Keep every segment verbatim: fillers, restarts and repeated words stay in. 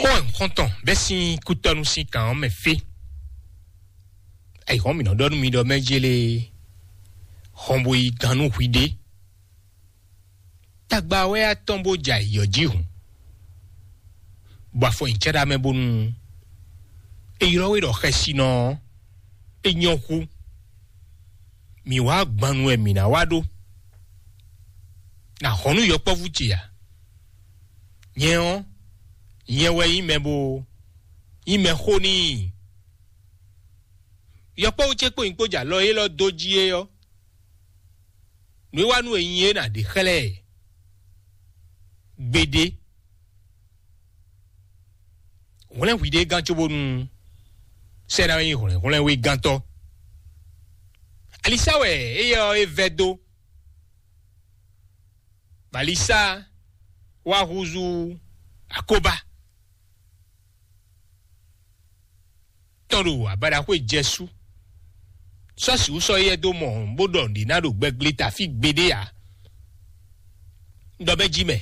Xó wɛ un xɔ́n tɔn bɛ́ sín kútɔ́nú sín kan ɔ́ mɛ fí. Ayǐhɔ́n mǐ nɔ ɖɔ nú mi ɖɔ mɛ jélé hɔn bo yi gán nú hwiɖée. Tagba wɛ atɔn bó jɛ ayǐ ɔ́ jí hǔn, bɔ afɔ nyi cɛ́ɖá mɛ bónú è ylɔ́ we ɖɔ xɛsinɔ ɔ́, é nyɔ́ hú. Mǐ wá gban nu wɛ mǐ ná wá ɖó. Nǎ hɔn nú yɔkpɔ́vú ce ǎ. Nyɛ ɔ́, nyɛ wɛ nyí mɛ bo nyí mɛ xó n'i. Yɔkpɔ́vú ce kpó nyí kpó jɛ alɔ élɔ́ dó jí é ɔ́, nǔ e wá nú è nyi é nǎ ɖe xlɛ́ ɛ gbeɖé. Hwlɛ́n hwiɖée gán cóbónú sɛ́ ná nyí hwlɛ̌nhwlɛ́n wegantɔ́. Alisa wɛ éyɛ́ ɔ́ é vɛ́ dó. Balisa wá húzú akóbá tɔn ɖo abadaxwé jɛsú. Sɔ́ sǐ wú sɔ́ éyɛ́ dó mɔ bó ɖɔ nǔɖé ná ɖo gbɛgble tafí gbeɖé ǎ. Un ɖɔ bɛ́ jí mɛ.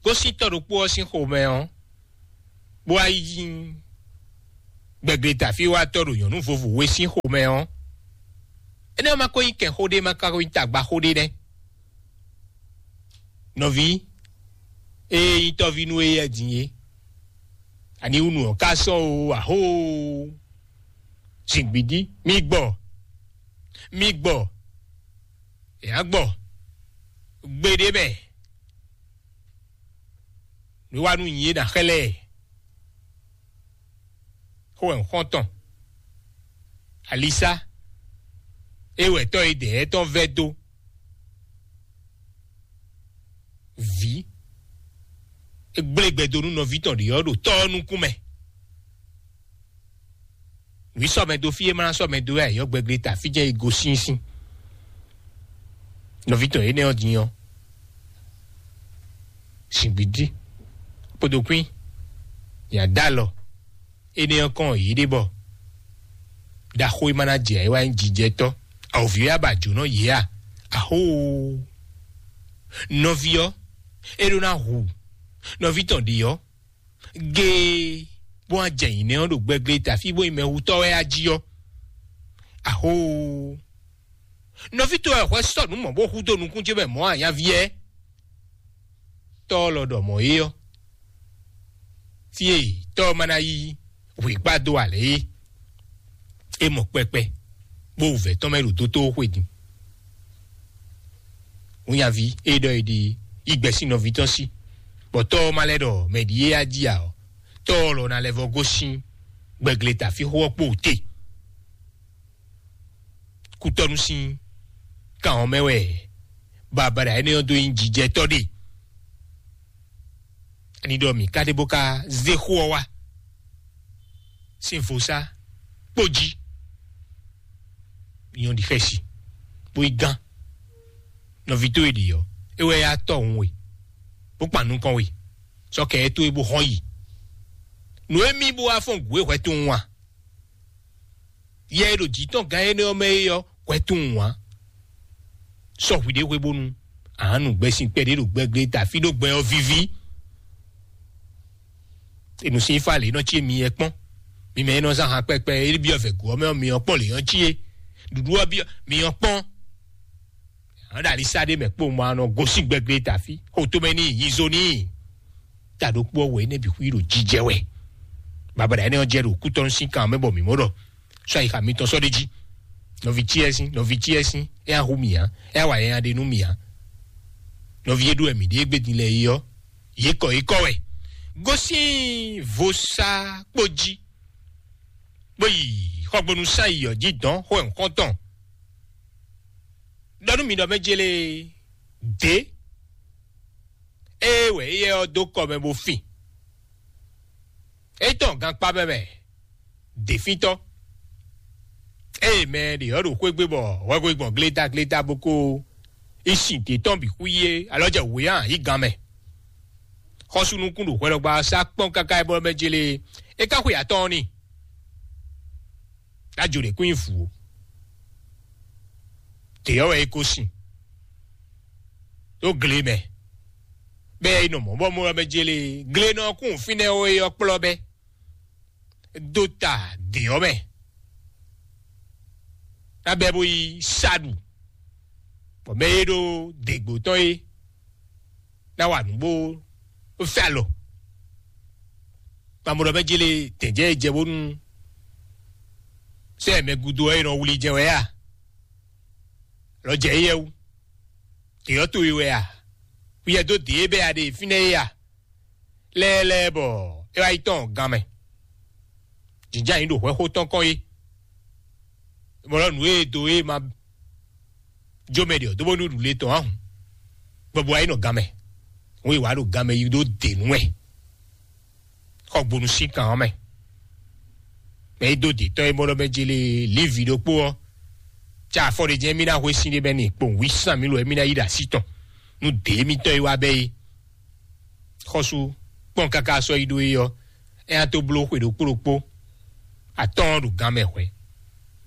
Gosíntɔ́ ɖokpó ɔ́ sín xomɛ ɔ́, bó wá yi gbɛgble tafí wá tɔ́ ɖo nyɔ̌nu vovo we sín xomɛ ɔ́, énɛ́ ɔ́ ma ko nyí kɛnxó ɖé, ma ka ko nyí tagbaxó ɖé nɛ́. Nɔví, ée nyí tɔ́ví nú éyɛ́ din é, ani wú nǔ ɔ́ ka sɔ́ o, ahóo? Zǐngbídí, mi gbɔ, mi gbɔ, è nǎ gbɔ gbeɖé mɛ. Nǔ e wá nú nyí é ná xlɛ́ ɛ. Xó wɛ un xɔ́n tɔn. Alisa, é wɛ tɔ́ e dɛ̌ tɔn vɛ́ dó. Vǐ, é gblé gbɛ dó nú nɔví tɔn ɖě ɔ́ ɖo tɔ́ ɔ́ nukún mɛ. Nǔ yi sɔ́ mɛ dó fí e ma ná sɔ́ mɛ dó wɛ ayǐ ɔ́, gbɛgble ta fí jɛ́n e gosín sín. Nɔví tɔn énɛ́ ɔ́ din ɔ́, zǐngbídí kpódó kwín, nya dó alɔ énɛ́ ɔ́ kɔn yě ɖe bɔ ɖaxó e ma ná jɛ ayǐ wá nyí jijɛtɔ́. Awǒvi ɔ́ yá ba jǒnɔ yě a? Ahóoo! Nɔví ɔ́, é ɖó ná hu nɔví tɔn ɖě ɔ́ géé, bó wá jɛ nyǐnɛ́ ɔ́ ɖo gbɛgble ta fí bó nyí mɛhutɔ́ wɛ a jí ɔ́. Ahóoo! Nɔví towe wɛ hwɛ sɔ́ nǔ mɔ̌ bó hú dó nukún ce mɛ mɔ̌ a, nyaví ɛ? Tɔ́ ɔ́ lɔ ɖɔ mɔ̌ é ɔ́, fí e tɔ́ ɔ́ ma ná yí hwǐkpá dó ǎ lɛ́ɛ é. É mɔ kpɛkpɛ, bó wǔvɛ́ tɔn mɛ ɖo dótó xwe din. Wúnyaví e ɖɔ è ɖe yi gbɛ sín nɔví tɔn sí, bɔ tɔ́ ɔ́ ma lɛ́ ɖɔ mɛ ɖi é á jí ǎ ɔ́, tɔ́ ɔ́ lɔ ná lɛ́ vɔ́ gosín gbɛgle tafíxó ɔ́ kpo te. Kútɔ́nú sín kan ɔ́ mɛ wɛ babada énɛ́ ɔ́ dó nyí jijɛtɔ́ ɖe. Ani ɖɔ mǐ ka ɖe bó ka zé xó ɔ́ wá sín vodúnsi kpó jí. Nyɔ̌ ɖi xɛsi, bó yi gán. Nɔví towe ɖi ɔ́, é wɛ yá tɔ́hun we, bó kpan nukɔn we, sɔ́ kɛ ɛ towe bó hɔn yi. Nǔ e mì bó wá fɔ́n gǔ e hwɛ tunwun a? Yɛ e ɖo jǐ tɔn gán énɛ́ ɔ́ mɛ é ɔ́, hwɛ tunwun ǎ. Sɔ hwiɖée hwebónu ǎ nu gbɛsin kpɛɖé ɖo gbɛglé ta fí ɖó gbɛ ɔ́ víví. Enu sín fá lě nɔ cí mi yɛ kpɔ́n. Mi mɛ e nɔ zán han kpɛkpɛ e byɔ́ vɛ̌ gǔ ɔ́ mɛ ɔ́, mi ɔ́ kpɔ́n lě nɔ cí é. Ɖuɖu ɔ́ byɔ́ mi ɔ́ kpɔ́n. Ǎ ɖo alisá ɖé mɛ kpó ma nɔ gosín gbɛglé ta fí. Xo tomɛ n'i, yizo n'i. Ta ɖokpó ɔ́ wɛ énɛ́ bǐ xwí ɖo jijɛ wɛ. Babada énɛ́ ɔ́ jɛ ɖo kútɔ́nú sín kan mɛ bɔ mǐ mɔ ɖɔ sɔ́ ayixa mitɔn sɔ́ ɖ'é jí. Nɔví ce ɛ sín, nɔví ce ɛ sín, é nya hu mì ǎ, é nya wa nyanya ɖe nú mì ǎ. Nɔví e ɖó wɛ mǐ ɖe égbé din lɛ́ɛ é ɔ́, yě kɔ yě kɔ wɛ. Gosín vodúnsi kpó jí, bó yi xɔgbónú sán yi ɔ́ jí dɔn xó ɛ nukɔn tɔn. Ɖɔ nú mi ɖɔ mɛ jélé dě, ée wɛ éyɛ́ ɔ́ dó kɔ mɛ bó fin. É tɔn gankpá mɛ mɛ děfíntɔ́. Ée mɛ ɖě ɔ́ ɖo xwé gbe bɔ hwɛhwe gbɔn glétáglétá bó ko yi sin dě tɔn bǐ xwí é, alɔ jɛ wǔ yá yi gan mɛ. Xɔ́sú nukún ɖo hwɛɖɔgba ɔ́ sá kpɔ́n káká é bɔ mɛ jélé é ka xwe atɔ́ɔ́n n'i. Ɖájò ɖě kún nyi vǔ ó. Dě ɔ́ wɛ é ko sin ɖó gle mɛ. Bɛ yi nɔ mɔ bɔ mɔ bɛ jele gle nɔ kún fínɛ́ ó, yɔ kplɔ bɛ dó ta dě ɔ́ mɛ. Ná bɛ bó yi saɖu, bɔ mɛ e ɖo děgbó tɔn é ná wa nǔ bó fɛ alɔ. Mamɔɖɔ bɛ jele tɛ̌njɛ e jɛ bónú sɛ mɛ gúdo ɔ́, è nɔ wlí jɛ wɛ a? Lɔ jɛ éyɛ́ wú. Dě ɔ́ towe wɛ a? Wíyɛ dó dě e bɛ a ɖe fínɛ́ é a? Lɛ́ɛ lɛ́ɛ bɔ é wá yi tɔn gan mɛ. Jǐnján yǐ ɖo hwɛxó tɔn kɔn é. Mɔlɔ nǔ e do é ma jó mɛ ɖe ɔ́ dó bónú ɖu le tɔn ahun. Bɔbɔ wá yi nɔ gan mɛ. Wọ́n yi wá ɖo gan mɛ yi ɖó dě nú wɛ. Xɔ gbonu sín kan ɔ́ mɛ. Mɛ yi dó dě tɔn e mɔ ɖɔ mɛ jele lívi ɖokpó ɔ́. Tsa afɔ ɖe jɛ́n mí ná hwe sín ɖé bɛ́ ni kpowun wí sán mí lo mí ná yi ɖo así tɔn. Nú dě mítɔn yi wá bɛ́ é. Xɔsu kpɔn káká sɔ́ yi ɖó é ɔ́, é ná tó bló xwe ɖokpó ɖokpó atɔ́ɔ́n ɖo gan mɛ hwɛ̌,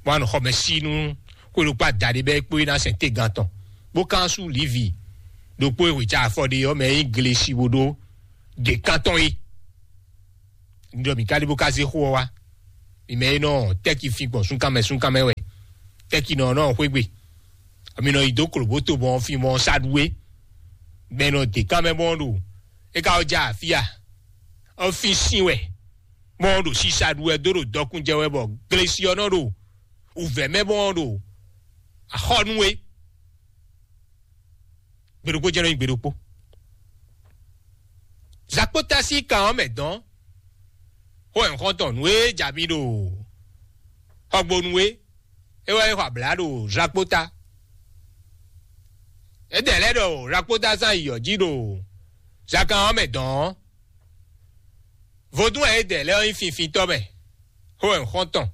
bó wá nɔ xɔ mɛ sí nú xwe ɖokpó adaɖé bɛ́ kpó é ná sɛn tégan tɔn, bó kán sú Livi ɖokpó e hwe ca afɔ ɖe ɔ́ mɛ é nyí glesi bó ɖó ɖě kántɔn é. Un ɖɔ mǐ ka ɖi bó ka zé xó ɔ́ wá. Mi mɛ e nɔ tɛ́ki fin gbɔn súnkanmɛ súnkanmɛ wɛ, tɛ́ki nɔ nɔ xwé gbe. Mi nɔ yi dó klobóto mɔ fin mɔ saɖuwe. Mɛ nɔ dě kan mɛ mɔ ɖo é ka wɔ ja afia ɔ́ fin sin wɛ, mɔ ɖo sisa ɖu wɛ dó ɖo dɔkun jɛ wɛ bɔ glesi ɔ́ nɔ ɖo wǔvɛ́ mɛ mɔ ɖo axɔ́ nú we. Gbeɖokpó jɛ́n nɔ nyí gbeɖokpó. Zakpóta sín kan ɔ́ mɛ dɔn xó ɛnxɔntɔn nú é ja mi ɖo xɔgbonu é, é wɛ é xɔ abla ɖo zakpóta. É dɛ lɛ́ ɖɔ zakpóta zán yi yɔ̌ jí ɖo zakan ɔ́ mɛ dɔn ɔ́. Vodún wɛ é dɛ lɛ́ ɔ́ nyí finfintɔ́ mɛ xó ɛnxɔntɔn.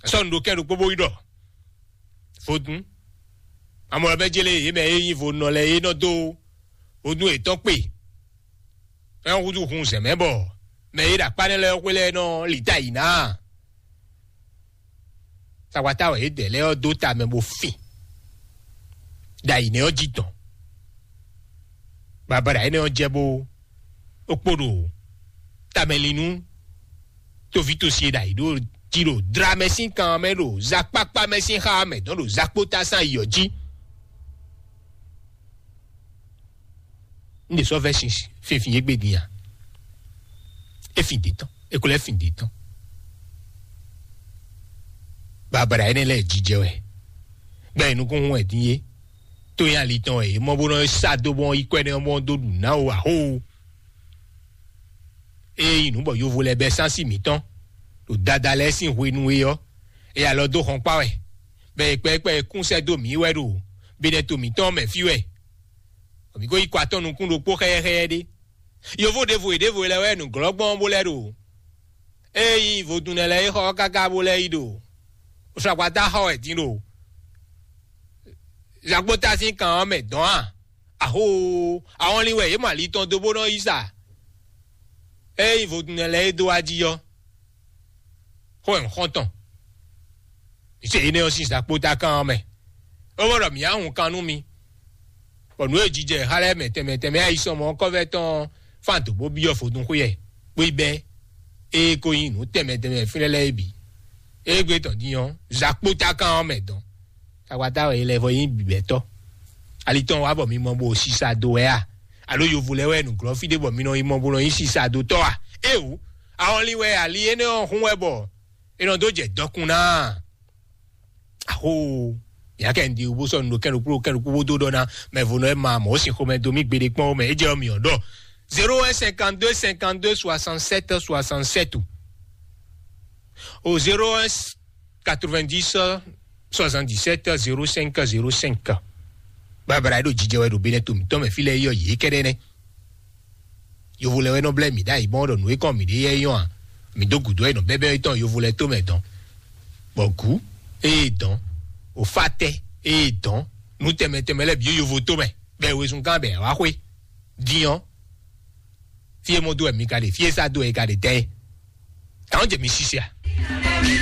Sɔ́ nu ɖo kɛ́n ɖokpó bó yi ɖɔ vodún. Amɔ bɛ jele yě mɛ e nyí vodúnnɔ lɛ́ɛ é nɔ dó vodún yětɔn kpe. É nɔ húzú hun zɛ̌ mɛ bɔ mɛ e ɖo akpá nɛ́ lɛ́ɛ xwé lɛ́ɛ nɔ lǐta yǐ ná. Sakwata wɛ yě dɛ lɛ́ɛ ɔ́ dó ta mɛ bó fin. Ɖo ayǐ nɛ́ ɔ́ jí tɔn. Babada énɛ́ ɔ́ jɛ bó ó kpo ɖo tamɛlinu tóvítɔ́si e ɖo ayǐ ɖo jí ɖo dra mɛ sín kan mɛ ɖo zakpakpa mɛ sín xá mɛ dɔn ɖo zakpóta sín ayǐ ɔ́ jí. Un ɖe sɔ́ vɛ́ sin finfin yé gbe din a? É fin dě tɔn, é ko lɛ́ fin dě tɔn. Babada énɛ́ lɛ́ɛ jijɛ wɛ, gbɛ́ nukún hun wɛ din é. Tó nyí ali tɔn wɛ é mɔ bó nɔ sá dó bɔn yi kɔ ɛnɛ ɔ́ bɔn dó ɖu ná o axó. Ée nyí nǔ bɔ yovo lɛ́ɛ bɛ́ sánsí mǐtɔn ɖo dada lɛ́ɛ sín hwenu é ɔ́, é alɔ dó xɔnkpá wɛ, bɔ è kpɛkpɛ e kún sɛ́ dó mǐ wɛ ɖo binɛto mǐtɔn mɛ fí wɛ. Bɔ mǐ ko yi kɔ atɔ́ nukún ɖokpó xɛyɛ́xɛyɛ́ ɖé. Yovo ɖěvo e ɖěvo lɛ́ɛ wɛ nǔglɔ́gbɔn bó lɛ́ ɖo. Ée nyí vodúnnɛ lɛ́ɛ é xɔ ɔ́ káká bó lɛ́ yi ɖo. Sɔgbata xɔ wɛ din ɖo. Zagbota sín kan ɔ́ mɛ dɔn a? Axó, ahɔnlin wɛ yě mɔ ali tɔn dó bó nɔ yí sa. Ée nyí vodúnnɛ lɛ́ɛ é dó wá jí ɔ́, xó wɛ un xɔ́n tɔn. Mǐ se énɛ́ ɔ́ sín zakpóta kan ɔ́ mɛ. É wɔ ɖɔ mǐ á hun kan nú mi, bɔ nǔ e jijɛ xá lɛ́ɛ mɛ tɛnmɛ tɛnmɛ ayisɔmɔ ɔ́ kɔ́vɛ́ tɔn fán dǒ bó byɔ́ vodún xwé ɛ, bó yi bɛ́ ée ko nyí nǔ tɛnmɛ tɛnmɛ fínɛ́ lɛ́ɛ é bǐ. Égbé tɔn din ɔ́, zakpóta kan ɔ́ mɛ dɔn. Tagbata wɛ è lɛ vɔ nyí bǐbɛ́tɔ́. Ali tɔn wá bɔ mi mɔ bó sisa do wɛ a? Alo yovo lɛ́ɛ wɛ nǔglɔ́ fí ɖé bɔ mi nɔ yi mɔ bó nɔ nyí sisa do tɔ́ a? Éeǒ, ahɔnlin wɛ ali énɛ́ ɔ́ hún wɛ bɔ è nɔ dó jɛ dɔkun ná a? Axó, mǐ ná kɛ nǔɖé wú bó sɔ́ nǔ ɖo kɛ́n ɖokpó ɖo kɛ́n ɖokpó bó dó ɖɔ ná mɛ vo nɔ é ma mɔ̌ sin xomɛ dó mì gbeɖé kpɔ́n ó mɛ. É jɛ ɔ́ mǐ ɔ́ ɖɔ zéro un cinquante-deux cinquante-deux soixante-sept soixante-sept o zéro un quatre-vingt-dix soixante-dix-sept zéro cinq zéro cinq. Babala e ɖo jijɛ wɛ ɖo benɛ to mǐtɔn mɛ fí lɛ́ɛ yɔ yě kɛ́ɖɛ́ nɛ́. Yovo lɛ wɛ nɔ blɛ́ mǐ ɖ'ayǐ gbɔn ɖɔ nǔ e kɔn mǐ ɖe yɛ é nyɔ́ a? Mǐ dó gǔdo wɛ nɔ bɛ́bɛ́ tɔn yovo lɛ tó mɛ dɔn. Bɔ gǔ ée dɔn, òfátɛ́ ée dɔn, nǔ tɛnmɛ tɛnmɛ lɛ́ɛ bǐ yovo tó mɛ, bɛ́ wezun gán bɛ wá xwé. Din ɔ́, fí e mɔ dó wɛ mi ka ɖe, fí e sá dó wɛ è ka ɖe tɛ́ é? Kàn jɛ mi sise a?